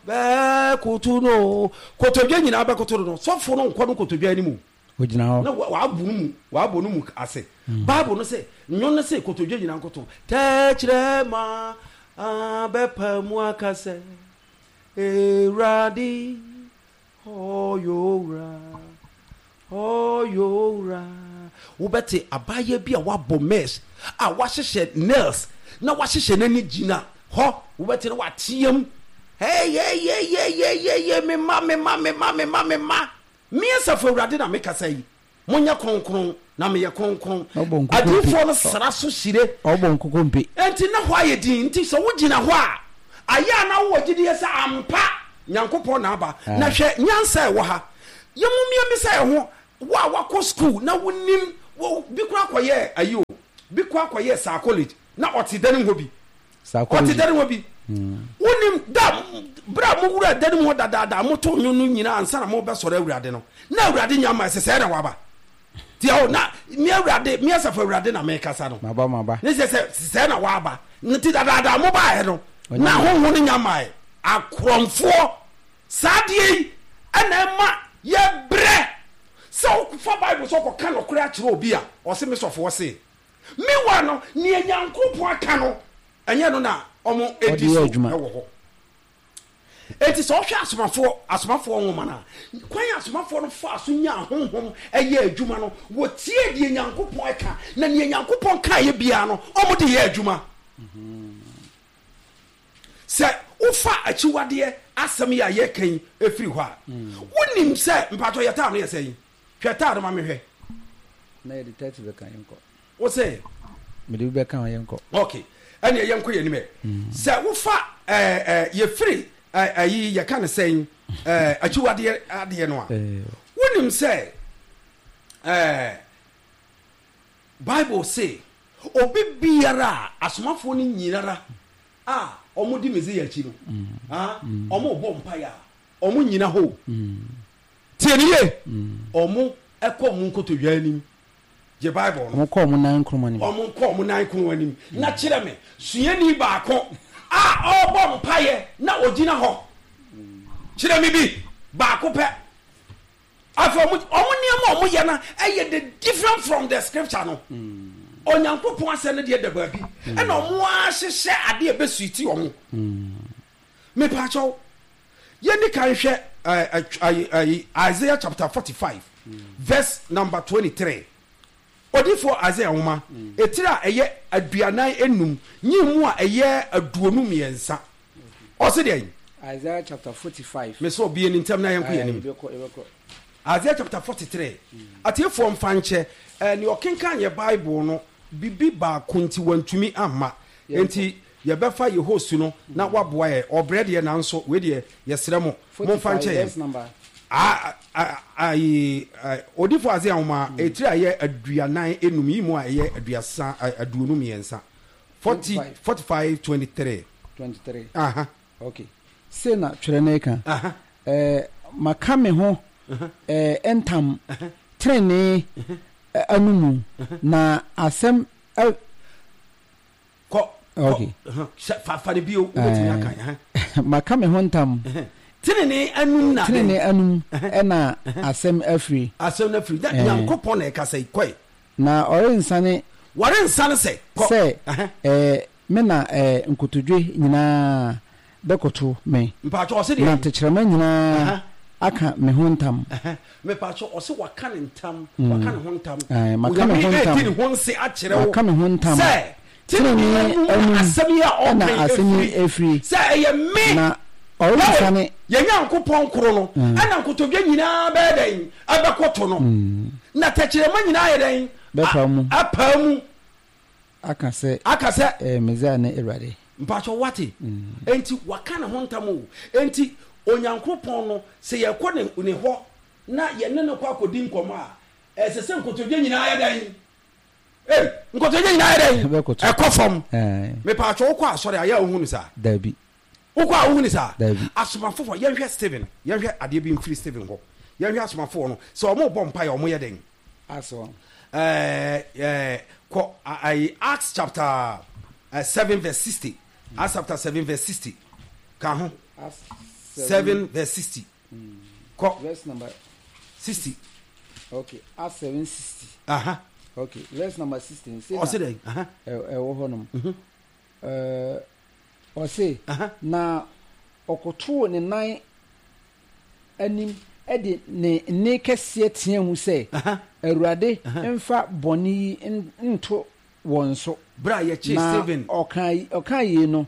Bɛkoto no, kotodwe nyinaa bɛkoto no no, sɔfo no nkɔ no kotodwe anim o. Ogyina hɔ. Na wabɔ no mu, wabɔ no mu ase. Bible no se, nnwom no se kotodwe nyinaa nkoto. Tɛkyerɛma bɛpa mu aka sɛ, Awurade Ɔyɛ owura, ɔyɛ owura. Wobɛte abaayewa bi a wabɔ mess a wahyehyɛ nails na wahyehyɛ n'ani gyina hɔ, wobɛte no wateam, Hey, hey, hey, hey, hey, hey, hey, me mma, me mma, me mma, me mma, me mma. Me Asafo Awurade na mekasa yi. Monyɛ kronkron, na meyɛ kronkron. Adiyifoɔ no sra so hyire. Ɔbɔ nkokompe. Enti na hɔ ayɛ dinn. Enti sɛ wogyina hɔ a, ayɛ a na wowɔ gyidie sɛ ampa Nyankopɔn na aba. Na hwɛ nyansa a ɛwɔ ha. Yɛn mu mmiɛmmisa yɛn ho, wo a woakɔ sukuu na wonim, wo, bi koraa kɔyɛɛ ayi o, bi koraa kɔyɛɛ psychology na ɔte dan mu hɔ bi. Psychology. Ɔte dan mu hɔ bi. Wonim da, berɛ a mowura dan mu hɔ dadaada a motoo nnwom no nyinaa ansa na mobɛsɔre Awurade no, na Awurade nya mmae sɛ sɛɛ na waba. Nti ɛhɔ na me Awurade, me Asafo Awurade na mekasa no. Maba, maba. Ne sɛ sɛ sɛɛ na waba. Nti dadaada a mobaeɛ no, na honhom no nya mmae. Akorɔmfoɔ, saa adeɛ yi na ɛma yɛbrɛ. Sɛ wofa Bible sɛ wokɔka nokorɛ akyerɛ obi a, ɔse me sɔfoɔ se. Meanwhile no, nea Nyankopɔn aka no, ɛnyɛ ɛno na wɔdi so wɔ hɔ. Enti sɛ wohwɛ asomafoɔ asomafoɔ nwoma no a, kwan a asomafoɔ no faa so nyaa honhom yɛɛ adwuma no, wɔtiee deɛ Nyankopɔn ka, na nea Nyankopɔn kaeɛ biara no, wɔde yɛɛ adwuma. Sɛ wofa akyiwadeɛ asɛm yi a yɛreka yi firi hɔ a, wonim sɛ, mpakyɛw yɛ taa no yɛ sɛn? Hwɛ taa no ma me hwɛ. Na yɛde 30 bɛka yɛnkɔ. Wo se? Mede bi bɛka ho yɛnkɔ. Ok, ɛneɛ yɛnkɔ yɛn anim ɛ. Sɛ wofa ɛɛ ɛɛ yɛfiri ɛɛ ayi yɛka no sɛn ɛɛ akyiwadeɛ adeɛ no a, wonim sɛ ɛɛ Bible se obi biara a asomafoɔ no nyinara a wɔdi Mesia akyi no, ah, wɔrebɔ mpaeɛ a, wɔnnyina hɔ o. Tie no yie. Wɔn kɔ wɔn nkotodwe anim gye Bible no. Wɔn kɔ wɔn nan kron anim. Wɔn kɔ wɔn nan kron anim. Na kyerɛ me suani baako a ɔrebɔ mpaeɛ na ɔgyina hɔ. Kyerɛ me bi baako pɛ. Afei wɔn wɔn nneɛma a wɔyɛ no ɛyɛ the different from the scripture no. Onyankopɔn asɛm no deɛ da baabi. Ɛna wɔn ahyehyɛ adeɛ a ɛbɛsuiti wɔn. Mepaakyɛw, yɛnni kan nhwɛ Isaiah chapter 45 verse number 23. Odiyifoɔ Isaiah nwoma, etire a ɛyɛ 45, nyiyimu a ɛyɛ 23. Ɔse deɛn? Isaiah chapter 45. Mesɛ ɔbie no ntɛm na yɛnkɔ yɛn anim. Isaiah chapter 43. Atiefoɔ mfa nkyɛ, nea ɔkenkan yɛ Bible no, bibi baako nti wantumi amma. Enti Yɛbɛfa yɛ host no na waboa yɛn. Ɔbrɛ deɛ nanso wei deɛ yɛsrɛ mo momfa nkyɛ yɛn. Ayi Odifo Isaiah nwoma etiri a ɛyɛ 45 yi mu a ɛyɛ aduasa 23. 40 45 23. 23. Aha. Okay. Sei na twerɛ no reka. Aha. Ɛɛ maka me ho ɛɛ ntam tenenee anomu na asɛm ɛ. Kɔ, kɔ, Okay. hyɛ, fa, fa no bio, wobɛtumi aka, ɛhɛn. Maka me ho ntam. Tenenee anum na dɛn? Tenenee anum na asɛm afiri. Asɛm no afiri. Na Nyankopɔn na ɛkasa yi, kɔe. Na ɔrensane. Wɔrensane sɛ, kɔ. Sɛ, ɛɛ, me na, ɛɛ, nkotodwe nyinaa bɛkoto me. Mpakyɛ, ɔse deɛn? Na tɛkyerɛma nyinaa aka me ho ntam. Mepakyɛ, ɔse waka ne ntam, waka ne ho ntam. Ɛɛ, maka me ho Onyame ntam. redi ne ho nse akyerɛ wo Maka me ho ntam. sɛ, tenenee Tenenee anum na anum asɛm yi a na ɔreka yi asɛm yi afiri, afiri. sɛ ɛyɛ me, Na Yahweh, ɔrensane. yɛn Nyankopɔn koro no, ɛna nkotodwe nyinaa bɛyɛ dɛn? Ɛbɛkoto no, na tɛkyerɛma nyinaa ayɛ dɛn? Bɛpae mu. Apae mu. Aka sɛ. Aka sɛ. Ɛyɛ Mesia ne Awurade. Mpakyɛw wate? Enti waka ne ho ntam o. Enti Onyankopɔn no, sɛ yɛkɔ ne ne hɔ na yɛne no kɔ akɔdi nkɔmmɔ a, ɛsɛ sɛ nkotodwe nyinaa yɛ dɛn? Ei, nkotodwe nyinaa yɛ dɛn? Ɛbɛkoto. Ɛkɔ fam. Ɛɛ. Mepaakyɛw wokɔ asɔre a, yɛ a wohu no saa? Dabi. Wokɔ a wohu no saa? Dabi. Asomafoɔ, yɛnhwɛ Stephen, yɛnhwɛ adeɛ bi mfiri Stephen hɔ. Yɛnhwɛ asomafoɔ no, sɛ wɔrebɔ mpaeɛ a, wɔyɛ dɛn? Aso. Ɛɛ ɛɛ kɔ ayi Acts chapter 7 verse 60. Acts chapter 7 verse 60. Ka ho. 7 verse 60. Kɔ. Verse number 60. Okay, Acts 7 60. Aha. Okay, verse number 60. Ɔse dɛn? Aha. Ɛwɔ hɔ nom. Ɔse, na ɔkotoo ne nan anim de ne nne kɛseɛ teaa mu sɛ, Awurade mfa bɔne yi nto wɔn so. Berɛ a yɛkyee Na Stephen. ɔkaa yei no,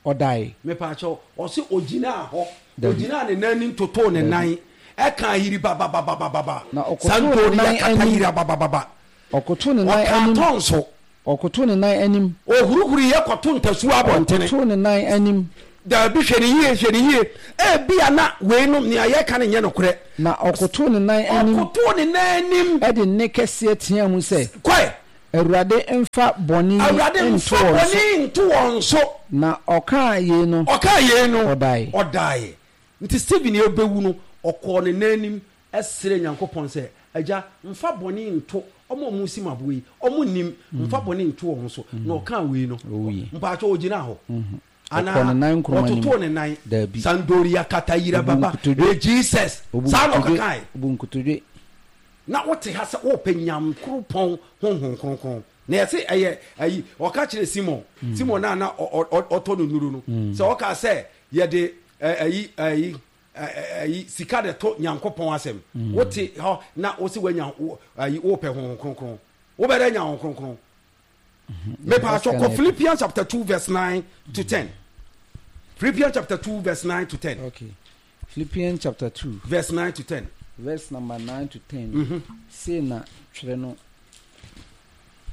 ɔdae. Mepaakyɛw, ɔse ogyinaa hɔ, Dabi. ogyinaa ne nan anim totoo ne Dabi. nan, ɛkaa yiribabababababa, Na ɔkotoo ne santori nan akata anim. yirababababa. Ɔkotoo ne nan Ɔkaa anim. tɔn so. Ɔkotoo ne nan anim. Ɔhurihuruiɛ kɔto ntasuo abɔntene. Ɔkotoo ne nan anim. Dabi, hwɛ no yie, hwɛ no yie. Ebia na weinom, nea yɛreka no nyɛ nokorɛ. Na ɔkotoo ne nan anim. Ɔkotoo ne nan anim. De nne kɛseɛ teaa mu sɛ. Kɔe. Awurade mfa bɔne yi Awurade nto mfa wɔn bɔne so. yi nto wɔn so. Na ɔkaa yei no. Ɔkaa yei no. Ɔdae. Ɔdae. Nti Stephen rebɛwu no, ɔkɔɔ ne nan anim srɛɛ Nyankopɔn sɛ, Agya, mfa bɔne nto wɔn a wɔresi me aboɔ yi, wɔnnim, mfa bɔne nto wɔn so. Na ɔkaa wei no, mpakyɛw ɔgyinaa hɔ? Anaa ɔtotoo ne nan? Sandoria katayira baba, eh Jesus, saa na ɔkekaeɛ. Na wote ha sɛ worepɛ Nyankoropɔn Honhom Kronkron. Na yɛse ɛyɛ ayi, ɔka kyerɛɛ Simon, Simon no a na ɔtɔ no nnuro no, sɛ ɔkaa sɛ yɛde ayi, ayi, ayi sika de to Nyankopɔn asɛm. Mm. Wote hɔ na wose woanya ayi wopɛ Honhom Kronkron. Wobɛdɛ anya Honhom Kronkron. Mm-hmm. Mepa atwɔ kɔ Philippians chapter 2 verse 9 to 10. Philippians chapter 2 verse 9 to 10. Okay. Philippians chapter 2 verse 9 to 10. Verse number 9 to 10. Mm-hmm. Sei na twerɛ no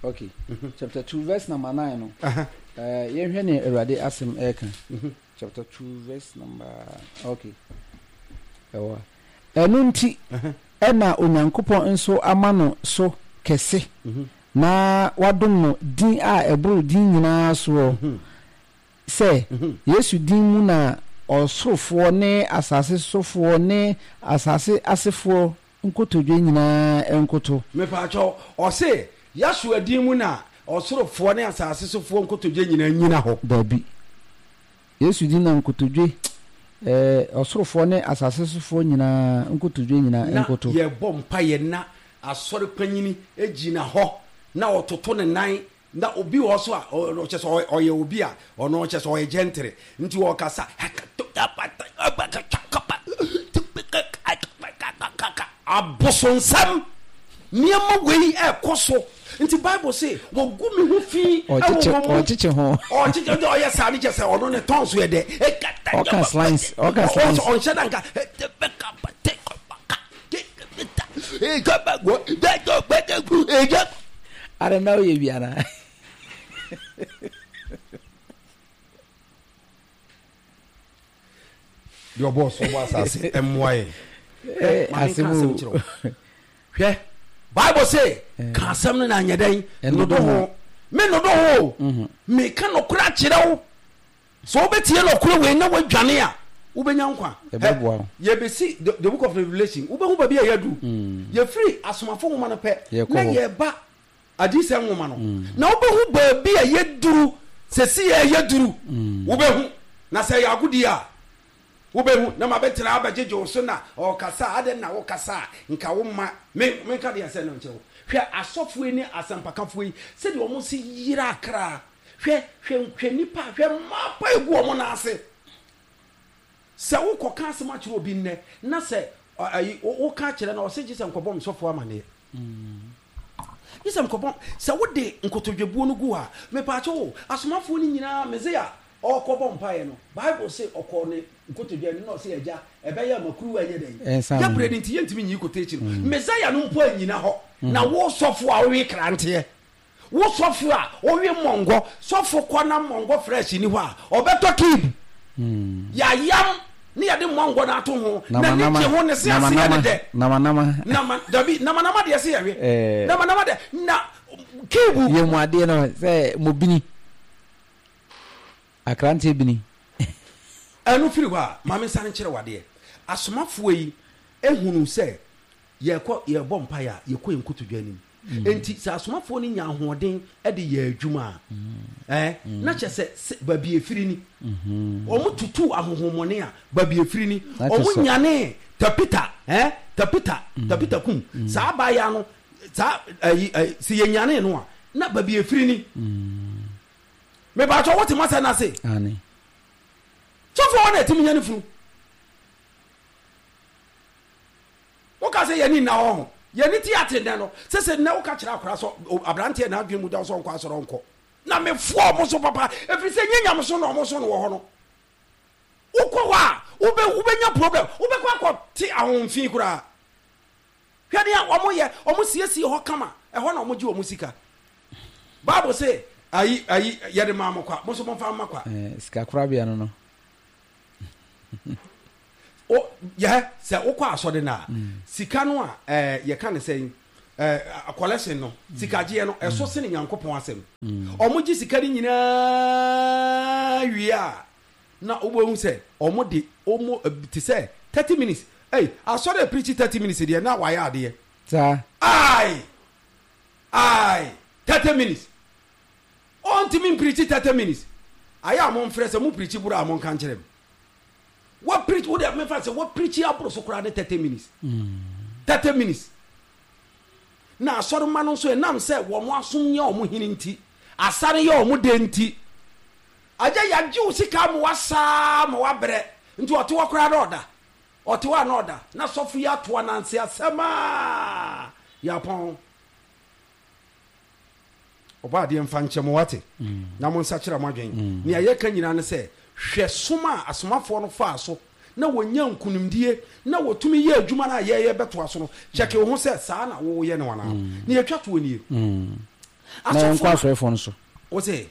okay. Mm-hmm. Chapter 2 verse number 9 no. Uh-huh. Uh, yɛnhwɛ ne Awurade asɛm ɛreka. Mm-hmm. Chapter 2 verse number okay. Ɛwɔ ɛno nti ɛna Onyankopɔn nso ama no so kɛse mm-hmm. na wadom no din a ɛboro din nyinaa soɔ mm-hmm. sɛ mm-hmm. Yesu din mu na ɔsorofoɔ ne asase sofoɔ ne asase asefoɔ nkotodwe nyinaa nkoto. Mepaakyɛw, ɔse Yahshua din mu na ɔsorofoɔ ne asase sofoɔ nkotodwe nyinaa nnyina hɔ. Dabi. Yesu din na nkotodwe, ɛɛ, ɔsorofoɔ ne asase sofoɔ nyinaa nkotodwe nyinaa Na nkoto. yɛbɔ mpaeɛ na asɔre panyini gyina hɔ na ɔtoto ne nan Na obi wɔ hɔ so a, ɔno kyerɛ sɛ ɔyɛ obi a ɔno kyerɛ sɛ ɔyɛ gentile nti ɔkasa abosonsɛm nneɛma wei ɛkɔ so nti bible se wɔgu me ho fi ɛwɔ wɔn mu ɔkyekye ho ɔkyekye nti ɔyɛ saa ne kyerɛ sɛ ɔno ne tɔn so yɛ dɛ ɔka slice ɔka slice ɔnhyɛ da nka Ara na woyɛ bi anaa? Deɛ ɔbɔɔ soro bɔ asase mmoa yɛn. Eh, Ma menka asɛm asɛm o. kyerɛ wo. Hwɛ, Bible se, ka asɛm no na anyɛ dɛn? Ɛnnodo Nnodo ho. ho. Me nnodo ho o. Meka nokorɛ akyerɛ wo. Sɛ wobɛtie nɔkorɛ wei na woadwane a, wobɛnya nkwa. Ɛbɛboa wo. Yɛbɛsi the, the book of Revelation, wobɛhu baabi a yɛadu. Yɛfiri Asomafo nwoma no pɛ Yɛkɔ na hɔ. yɛba Adiyisɛm nwoma no. Na wobɛhu baabi a yɛduru, sɛsi yɛ yɛduru. Wobɛhu. Na sɛ ɛyɛ agodie a, wobɛhu. Na mabɛtena abɛgyegye wo so na ɔrekasa a, adɛn na wokasa a nka womma me menka deɛ ɛsɛ no nkyerɛ wo. Hwɛ asɔfoɔ yi ne asɛmpakafoɔ yi sɛdeɛ wɔn si yera akra. Hwɛ, hwɛ, hwɛ nnipa, hwɛ mmaa pa egu wɔn nan ase. Sɛ wokɔka asɛm akyerɛ obi nnɛ, na sɛ ayi, woka kyerɛ no, ɔse gye sɛ nkɔbɔ me sɔfoɔ amaneɛ. Gye sɛ nkɔbɔ, sɛ wode nkotodwebuo no gu hɔ a, mepaakyɛw o, asomafoɔ no nyinaa, Mesia ɔrekɔbɔ mpaeɛ no, Bible se ɔkɔɔ ne nkotodwe anim na ɔse, Agya, ɛbɛyɛ a ma kuruwa nyɛ dɛn? Ɛnsa Yɛ me. berɛ no nti yɛntumi nyi quotation no. Mesia no mpo annyina hɔ, na wo sɔfoɔ a wowe kranteɛ, Wo sɔfo a wowe mɔngɔ, sɔfo kɔ na mɔngɔ fresh ni hɔ a, ɔbɛtɔ cube. Yɛayam ne yɛde mɔngɔ no ato ho, n'ani gye ho, ne se ase yɛ ne dɛ. Namanama. Nama, dabi, namanama deɛ se yɛwe. Eh. Namanama deɛ, na cube. Yɛ mu adeɛ no sɛ mobini, akranteɛ bini. Ɛno firi hɔ a, ma mensane nkyerɛ wo adeɛ. Asomafoɔ yi hunuu sɛ yɛrekɔ, yɛrebɔ mpaeɛ a, yɛkɔ yɛn nkotodwe anim. Enti sɛ asomafoɔ no nya ahoɔden de yɛ adwuma a, ɛɛ, na kyerɛ sɛ sɛ baabi efiri ni. Wɔn tutu ahohommɔne a, baabi efiri ni. Wɔn nyanee Tapita, ɛɛ, Tapita, Tapita kum. Saa abaayaa no, saa ɛyi ɛyi, sɛ yɛnyanee no a, na baabi efiri ni. Mepaatwɔ wote m'asɛm no ase? Sɔfoɔ hɔ na ɛtumi nya ne funu. Woka sɛ yɛn ani nna hɔ ho. Yɛn ani te ate nnɛ no. Sese nnɛ woka kyerɛ akwadaa sɛ aberanteɛ n'adwene mu da hɔ sɛ ɔnkɔ asɔre ɔnkɔ. Na mefoa wɔn so papa ɛfiri sɛ nyɛ nyamesom na wɔn so no wɔ hɔ no. Wokɔ hɔ a wobɛ wobɛnya problem wobɛkɔ akɔte ahonfi koraa. Hwɛ nea wɔn yɛ wɔn siesie hɔ kama ɛhɔ na wɔn gye wɔn sika. Bible se ayi ayi yɛde maa mo kwa mo nso momfa mma kwa. Eh, sika korabea no no. O, yɛ, sɛ wokɔ asɔre no a, sika no a, ɛɛ, yɛka ne sɛn, ɛɛ, collection no, sikagyeɛ no, ɛso sene Nyankopɔn asɛm. Wɔn gye sika no nyinaa wie a, na wobɛhu sɛ wɔn de wɔn, te sɛ 30 minutes, ei, asɔre a preachi 30 minutes deɛ, na wayɛ adeɛ. Saa. Ae! Ae! 30 minutes. Ɔntumi mpreachi 30 minutes. Ayɛ a momfrɛ, sɛ mo preachi boro a monka nkyerɛ me. Wa preach wo de mefa sɛ wa preach aboro so koraa ne 30 minutes. 30 minutes. Na asɔrema no nso ɛnam sɛ wɔn asom nyɛ wɔn hene nti, asare yɛ wɔn dɛ nti, agya yagye wo sika ama wasaa ma wabrɛ nti ɔte hɔ koraa na ɔda. Ɔte hɔ a na ɔda. Na sɔfo yi ato ananse asɛm a yɛapɔn. Ɔbɔadeɛ mfa nkyɛ mo, wate, na monsakyera mo adwene. Nea yɛka nyinaa ne sɛ, hwɛ som a asomafoɔ no faa so na wɔnyaa nkunimdie na wɔtumi yɛɛ adwuma no a yɛyɛ bɛtoa so no, kyɛke wo ho sɛ saa na woyɛ no anaa. Nea ɛtwa toɔ nie, Na yɛnkɔ asɔfoɔ no, afrɛfoɔ no so. wo se?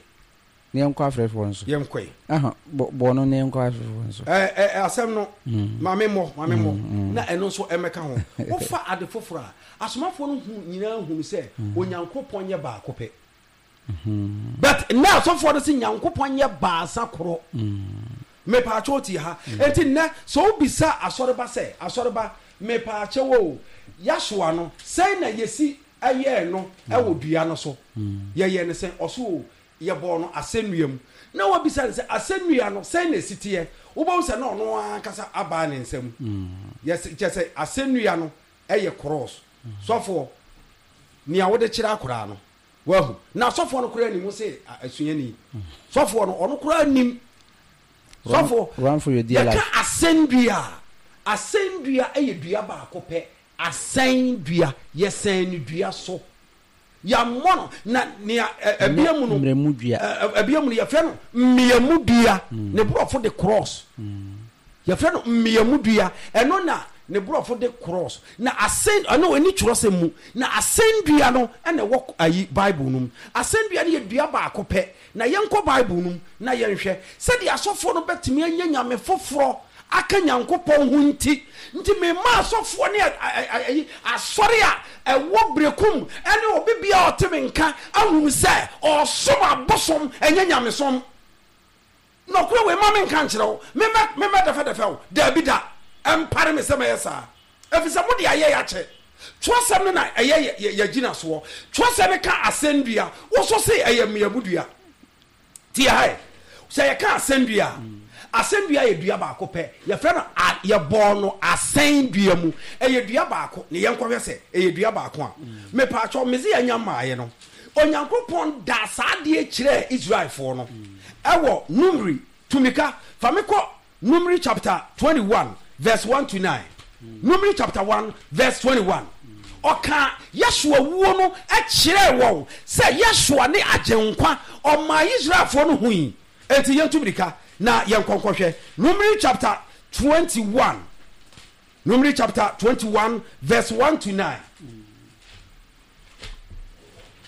Na yɛnkɔ afrɛfoɔ no so. Yɛnkɔe. Aha, bɔ, bɔ no na yɛnkɔ afrɛfoɔ no so. Ɛ, ɛ, asɛm no, ma me mmɔ, ma me mmɔ, na ɛno nso ɛmmɛka ho. Wofa ade foforɔ a, asomafoɔ no hu, nyinaa hunu sɛ Onyankopɔn nyɛ baako pɛ. But nnɛ asɔfoɔ no se Nyankopɔn nyɛ baasa korɔ. Mepaakyɛw tie ha. Enti nnɛ, sɛ wobisa asɔreba sɛ, Asɔreba, mepaakyɛw o, Yahshua no, sɛn na yɛsi yɛɛ no wɔ dua no so? Yɛyɛɛ no sɛn? Ɔse o, Yɛbɔɔ no asɛnnua mu. Na wɔabisa no sɛ, Asɛnnua no, sɛn na ɛsi teɛ? Wobɛhu sɛ na ɔno ara ankasa abaa ne nsa mu. Yɛse, kyerɛ sɛ, asɛnnua no yɛ krɔɔs. Sɔfoɔ, nea wode kyerɛ akoraa no, woahu. Na sɔfoɔ no koraa nim, wo se asuani. Sɔfoɔ no, ɔno koraa nim. Sɔfoɔ, Run for your dear yɛka life. asɛnnua a, asɛnnua yɛ dua baako pɛ. Asɛnnua, yɛsɛn no dua so. Yɛammɔ no, na nea Ɛnyɛ ɛbea mu no, mmerɛmu dua. ɛbea mu no yɛfrɛ no mmeamu dua. Ne borɔfo de cross. Yɛfrɛ no mmeamu dua. Ɛno na ne borɔfo de cross. Na asɛn, ɛno ɛni twerɛsɛm mu. Na asɛndua no na ɛwɔ ayi Bible no mu. Asɛndua no yɛ dua baako pɛ. Na yɛnkɔ Bible no mu na yɛnhwɛ sɛdeɛ asɔfoɔ no bɛtumi anya nyame foforɔ aka Nyankopɔn ho nti, nti mema asɔfoɔ ne ayi, asɔre a ɛwɔ Berekum ne obi biara a ɔte me nka ahunu sɛ ɔresom abosom, ɛnyɛ nyamesom. Nɔkorɛ wei ma menka nkyerɛ wo, memmɛ, memmɛdɛfɛdɛfɛ wo, daabi da, ɛmpare me sɛ mɛyɛ saa, ɛfiri sɛ mode ayɛ yɛakyɛ. Twerɛsɛm no na ɛyɛ yɛ, yɛ, yɛgyinasoɔ. Twerɛsɛm no ka asɛnnua, wo nso se ɛyɛ mmeamudua. Tie ha ɛ, sɛ yɛka asɛndua a, asɛndua yɛ dua baako pɛ. Yɛfrɛ no a, yɛbɔɔ no asɛn dua mu. Ɛyɛ dua baako. Ne yɛnkɔhwɛ sɛ ɛyɛ dua baako a. Mepaakyɛw, Mesia nya mmaeɛ no, Onyankopɔn daa saa adeɛ kyerɛɛ Israelfoɔ no ɛwɔ Numeri. Tu mmirika fa me kɔ Numeri chapter 21 verse 1 to 9. Numeri chapter 1 verse 21. Ɔkaa Yesua wuo no kyerɛɛ wɔn sɛ Yesua ne Agyenkwa. Ɔmaa Israelfoɔ no hui. Enti yɛntu mmirika na yɛnkɔ nkɔhwɛ Numeri chapter 21. Numeri chapter 21 verse 1 to 9.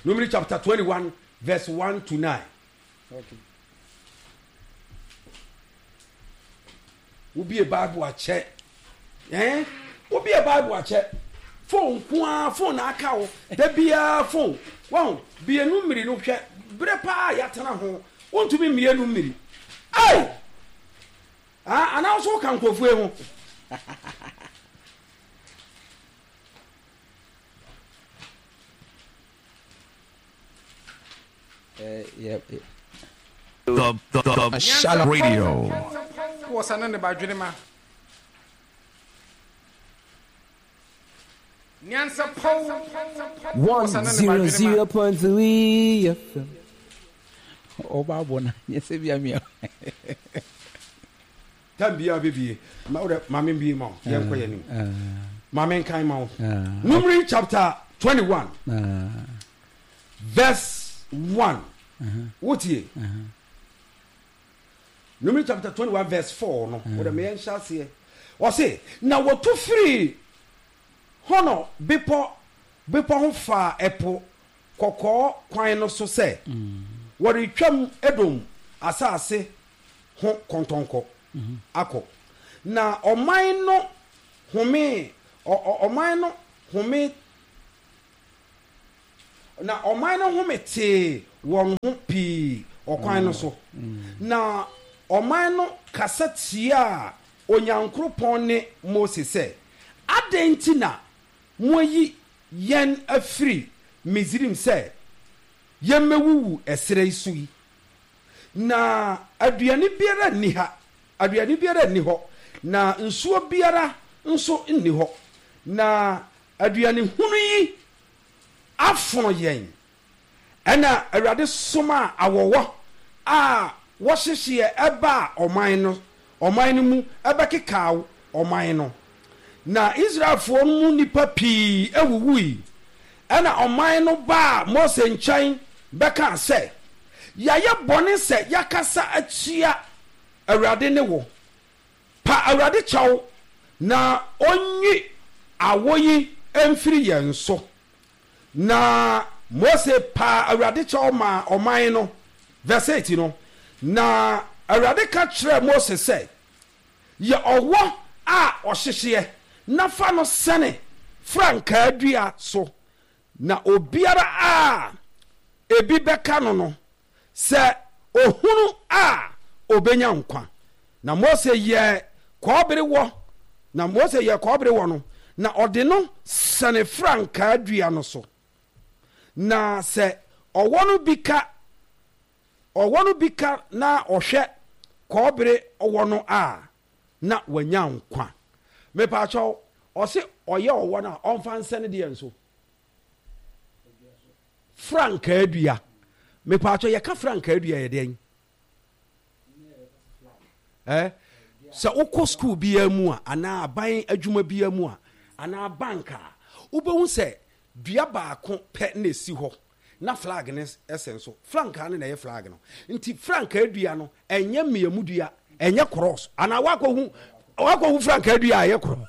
Numeri chapter 21 verse 1 to 9. Okay. Wobie Bible akyɛ. Eh? Wobie Bible akyɛ. Phone nko ara, phone na aka wo. Da biara phone. Wahu? Bie no mmiri no hwɛ. Berɛ paa yɛatena ho. Wontumi mmie no mmiri. Ei! Ah, anaa wo so woka nkurɔfoɔ yi ho. Yɛ The the the Shalom Radio. Wɔ sa ne ne ba dwenema. Nyansapɔw wɔ sa ne ne ba dwenema. 100.3 FM. Ɔba abɔ na nyɛ sɛ bia mia. Tam biara bɛbie. Ma wodɛ ma membie ma wo. Yɛnkɔ yɛn anim. Ma menkan ma wo. Numeri chapter 21 verse 1. Wotie? Numeri chapter 21 verse 4 no, wodɛ ma yɛnhyɛ aseɛ. Ɔse, na wɔtu firii Hɔnɔ bepɔ bepɔ ho faa ɛpo kɔkɔɔ kwan no so sɛ wɔretwam Edom asase ho kɔntɔnkɔ akɔ. Na ɔman no homee, ɔman no home, na ɔman no home tee wɔn ho pii ɔkwan no so. Na ɔman no kasa tiaa Onyankoropɔn ne Mose sɛ, Adɛn nti na moayi yɛn afiri Misraim sɛ yɛmmɛwuwu ɛserɛ yi so yi? Na aduane biara nni ha, aduane biara nni hɔ, na nsuo biara nso nni hɔ, na aduane hunu yi afono yɛn. Ɛnna Awurade somaa awɔwɔ a wɔhyehyeɛ baa ɔman no ɔman no mu bɛkekaa ɔman no, na Israelfoɔ no mu nnipa pii wuwui. Ɛnna ɔman no baa Mose nkyɛn bɛkaa sɛ, Yɛayɛ bɔne sɛ yɛakasa atia Awurade ne wo. Pa Awurade kyɛw na ɔnyi awɔ yi mfiri yɛn so. Na Mose paa Awurade kyɛw maa ɔman no. Verse 8 no, Na Awurade ka kyerɛɛ Mose sɛ, Yɛ ɔwɔ a ɔhyehyeɛ na fa no sɛne frankaa dua so, na obiara a ebi bɛka no no, sɛ ɔhunu a, ɔbɛnya nkwa. Na Mose yɛɛ kɔbere wɔ, na Mose yɛɛ kɔbere wɔ no, na ɔde no sɛne frankaa dua no so. Na sɛ ɔwɔ no bi ka ɔwɔ no bi ka na ɔhwɛ kɔbere ɔwɔ no a, na wanya nkwa. Mepaakyɛw, ɔse ɔyɛ ɔwɔ no a, ɔmfa nsɛne deɛ nso? Frankaa dua. Mepaakyɛw, yɛka frankaa dua yɛ deɛn? Eh? Sɛ wokɔ sukuu biara mu a, anaa aban adwuma biara mu a, anaa bank a, wobɛhu sɛ dua baako pɛ na ɛsi hɔ na flag no sɛn so. Frankaa no na ɛyɛ flag no. Nti frankaa dua no, ɛnyɛ mmeamu dua, ɛnyɛ cross. Anaa woakɔhu woakɔhu frankaa dua a ɛyɛ cross.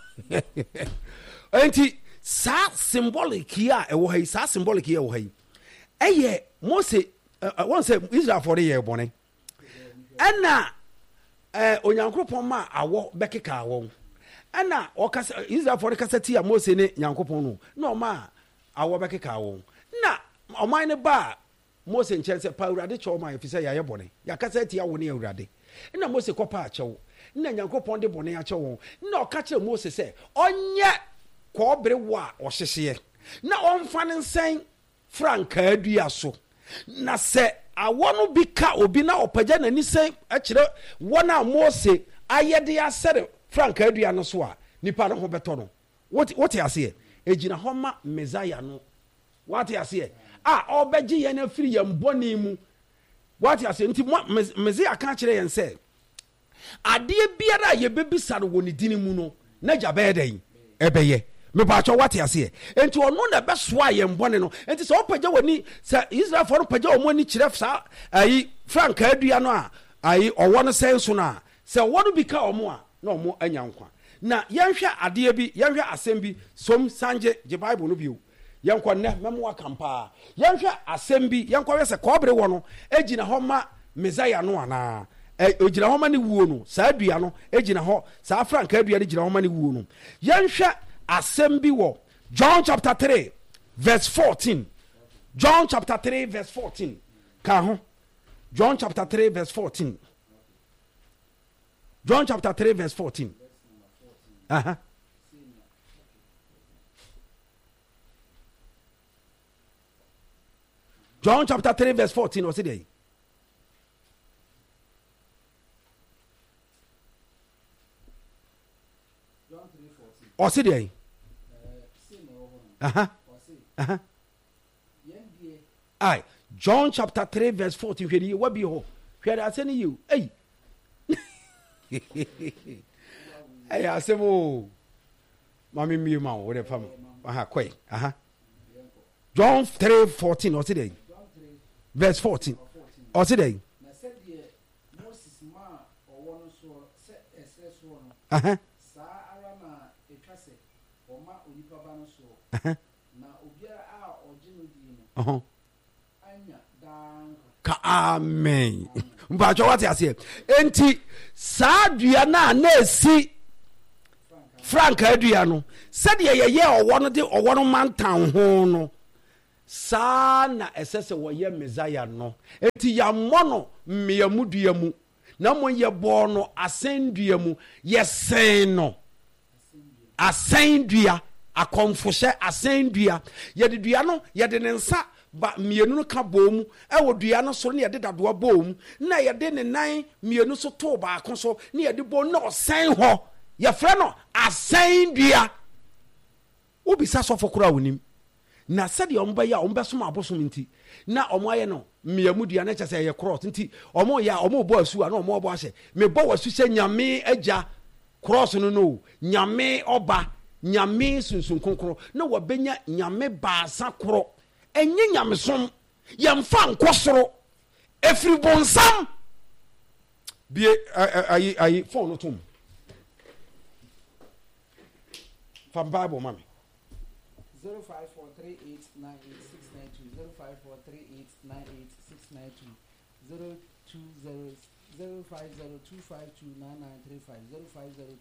Nti saa symbolic yi a ɛwɔ ha yi, saa symbolic yi a ɛwɔ ha yi, ɛyɛ Mose, wɔn sɛ Israelfoɔ no yɛɛ bɔne. Ɛna Onyankopɔn maa awɔ bɛkekaa wɔn. Ɛna ɔkasa Israelfoɔ no kasa tia Mose ne Nyankopɔn no, na ɔmaa awɔ bɛkekaa wɔn. Na ɔman no baa Mose nkyɛn sɛ, Pa Awurade kyɛw ma yɛn, efisɛ yɛayɛ bɔne. Yɛakasa atia wo ne Awurade. Ɛna Mose kɔpaa kyɛw, na Nyankopɔn de bɔne akyɛ wɔn. Na ɔka kyerɛɛ Mose sɛ ɔnyɛ kɔbere wɔ a ɔhyehyeɛ, na ɔmfa no nsɛn frankaa dua so. Na sɛ awɔ no bi ka obi na ɔpagya n'ani sɛn kyerɛ wɔn a Mose ayɛ de asɛre frankaa dua no so a, nipa no ho bɛtɔ no. Wote, wote aseɛ? Ɛgyina hɔ ma Mesaia no. Woate aseɛ? A ɔrebɛgye yɛn afiri yɛn bɔne mu. Woate aseɛ? Nti Mesaia ka kyerɛ yɛn sɛ, Adeɛ biara a yɛbɛbisa no wɔ ne dini mu no, n'agya bɛyɛ dɛn? Ɛbɛyɛ. Mepaakyɛw, woate aseɛ? Enti ɔno na ɛbɛsoa yɛn bɔne no. Enti sɛ wopagya w'ani, sɛ Israelfoɔ no pagya wɔn ani kyerɛ saa ayi frankaa dua no a ayi ɔwɔ no sɛn so no a, sɛ ɔwɔ no bi ka wɔn a, na wɔn anya nkwa. Na yɛnhwɛ adeɛ bi, yɛnhwɛ asɛm bi, som sangye, gye Bible no bio. Yɛnkɔ nnɛ, mɛma woakam paa. Yɛnhwɛ asɛm bi, yɛnkɔhwɛ sɛ kɔbere wɔ no gyina hɔ ma Mesaia no anaa. Ɛ, ɛgyina hɔ ma ne wuo no. Saa dua no gyina hɔ, saa frankaa dua no gyina hɔ ma ne wuo no. Yɛnhwɛ asɛm bi wɔ John chapter 3 verse 14. John chapter 3 verse 14. Ka ho. John chapter 3 verse 14. John chapter 3 verse 14. Uh-huh. John chapter 3 verse 14 ɔse deɛ? Ɔse deɛ? Aha. Aha. Ai, John chapter 3 verse 14 hwɛ ne yie wabie hɔ. Hwɛ de asɛm no yie o. Ei. Ɛyɛ asɛm o. Ma me mmie ma wo, wo de fa ma. Aha, kɔe. Aha. John 3 14 ɔse dɛn? Verse 14 ɔse dɛn? Aha. Aha. Ka amen. Mpatsɔ wate aseɛ. Enti saa dua no a na esi frankaa dua no, sɛdeɛ yɛyɛ ɔwɔ no de ɔwɔ no mantan ho no, saa na ɛsɛ sɛ wɔyɛ Mesaia no. Enti yɛammɔ no mmeamu dua mu, na mmom yɛbɔɔ no asɛndua mu, yɛsɛn no. Asɛndua, akɔmfohyɛ asɛndua. Yɛde dua no, yɛde ne nsa ba mmienu no ka bɔɔ mu wɔ dua no soro na yɛde dadoa bɔɔ mu, na yɛde ne nan mmienu so too baako so na yɛde bɔɔ mu na ɔsɛn hɔ. Yɛfrɛ no asɛndua. Wobisa sɔfo koraa a onim. Na sɛdeɛ wɔbɛyɛ a wɔbɛsom abosom nti, na wɔayɛ no mmeamudua, na kyerɛ sɛ ɛyɛ cross nti, wɔyɛ a wɔrebɔ asu a na wɔrebɔ ahyɛ, mebɔ w'asu sɛ Nyame Agya, cross no no o, Nyame Ɔba, Nyame Sunsum Kronkron, na wɔabɛnya Nyame baasa koro. Ɛnyɛ nyamesom, yɛmfa nkɔ soro, ɛfiri bonsam. Bie ayi ayi phone no tom. Fa Bible ma me. 0543898692 0543898692 020 0502529935 050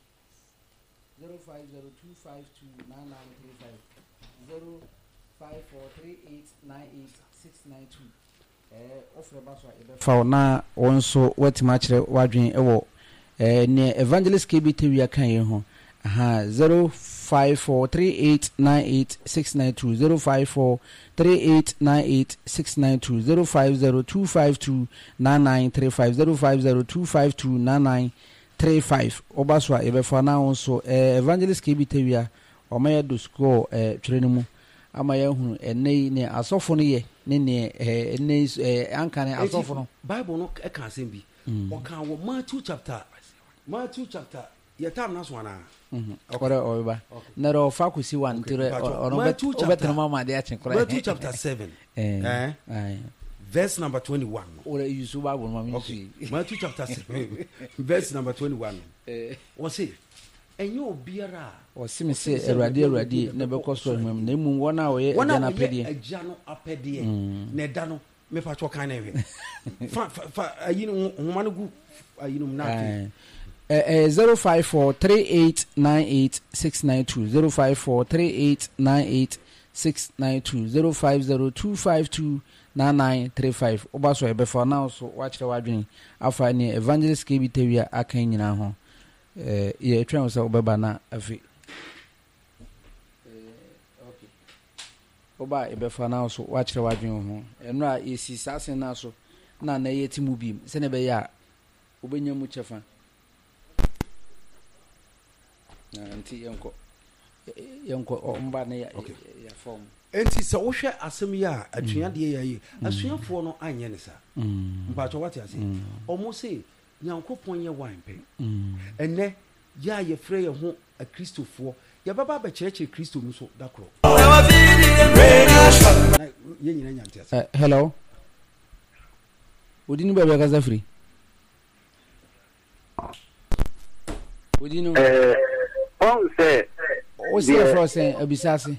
0502529935 0543898692 Wofrɛ ba so a, yɛbɛfa wo na wo nso woatumi akyerɛ w'adwene wɔ nea Evangelist KB Tawia ka yi ho. Aha, 0543898692, 0543898692, 0502529935, 0502529935. Woba so a, yɛbɛfa wo na wo nso Evangelist KB Tawia, wama yɛadɔ sukuu wɔ twerɛ no mu. Ama yɛahunu ɛnnɛ yi nea asɔfo no yɛ ne nea ɛnnɛ yi anka ne asɔfo no. Bible no ka asɛm bi. Ɔka wɔ Matthew chapter Matthew chapter yɛ time no aso anaa? Ɔrɛ ɔreba. Na ɔrɛ ɔfa kɔsi wa nti rɛ ɔno ɔbɛtena mu ama ade akye koraa. Matthew chapter 7 eh, verse number 21 no. Ɔrɛ yusu Bible no ma mi nsu yi. Matthew chapter 7 verse number 21 no. Ɔse Ɛnyɛ obiara a. Ɔse me sɛ, Awurade, Awurade, na ɛbɛkɔ soro ahemman mu, na mmom wɔn a wɔyɛ Agya no apɛdeɛ. Wɔn a wɔyɛ Agya no apɛdeɛ. Na ɛda no, mepa kyɛw kan na nhwɛ. Fa, fa, fa ayi no, nhoma no gu ayi no mu na afei. Ɛyɛ 054 3898 692, 054 3898 692, 050 252 9935. Woba so a yɛbɛfa wo na wo nso woakyerɛ w'adwene afa nea Evangelist KB Tawia aka yi nyinaa ho. Eh, yɛtwɛn wo sɛ wobɛba na afei eh, okay. Woba a yɛbɛfa na so woakyerɛ w'adwene wo ho. Ɛno a yɛsi saa asɛm no so na na yɛte mu bim sɛnea ɛbɛyɛ a wobɛnya mu kyɛfa. Na nti yɛnkɔ yɛnkɔ ɔmba ne yɛfa ɔmo. Enti sɛ wohwɛ asɛm yi a atuadeɛ yɛ ayi asuafoɔ no anyɛ ne saa. Mpakyɛ wate ase. Ɔmo se Nyankopɔn yɛ wan pɛ? Ɛnnɛ, yɛ a yɛfrɛ yɛn ho Akristofoɔ, yɛbɛba abɛkyerɛkyerɛ Kristo mu so da korɔ. Na yɛn nyinaa nya nteaseɛ. Eh, hello. Wodi no baabi akasa firi? Wodi no. Eh, ɔn sɛ. Wo sɛ yɛfrɛ sɛn abisa ase?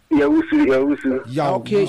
Yawusu, yawusu. Okay.